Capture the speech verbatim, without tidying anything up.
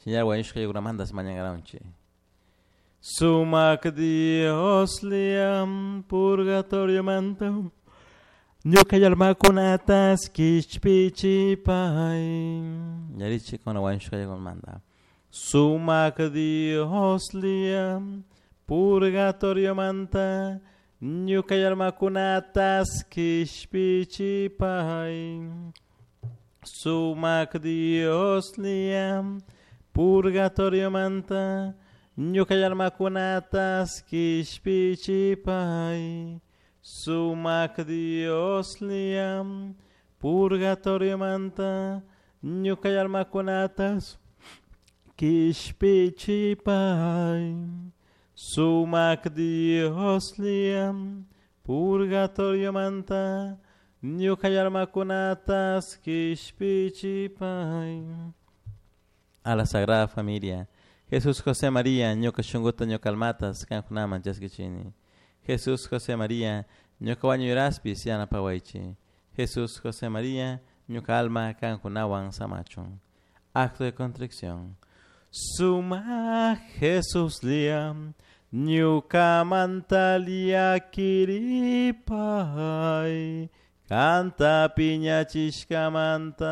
Señor wañushka yakunamantas mañankaranchik. Sumak Dios liam purgatorio manta ñuka almakunatas kishpichipay. Yarichi kuna wañushka yakumanta. Sumak Dios liam purgatorio manta ñuka almakunatas kishpichipay. Sumak Dios liam purgatorio manta ñuka almakunatas kishpichipay. Sumak Dios liam purgatorio manta ñuka almakunatas kishpichipay. Sumak Dios liam purgatorio manta ñuka almakunatas kishpichipay. A la Sagrada Familia. Jesús José María, ñuka shunkuta ñuka almatas kankunaman chaskichini. Jesús José María, ñuka wañuyraspis yanapawaychi. Jesús José María, ñuka alma kankunawan samachun. Acto de contrición. Suma Jesús liam, ñuka mantalia kiripay, kanta piñachishkamanta.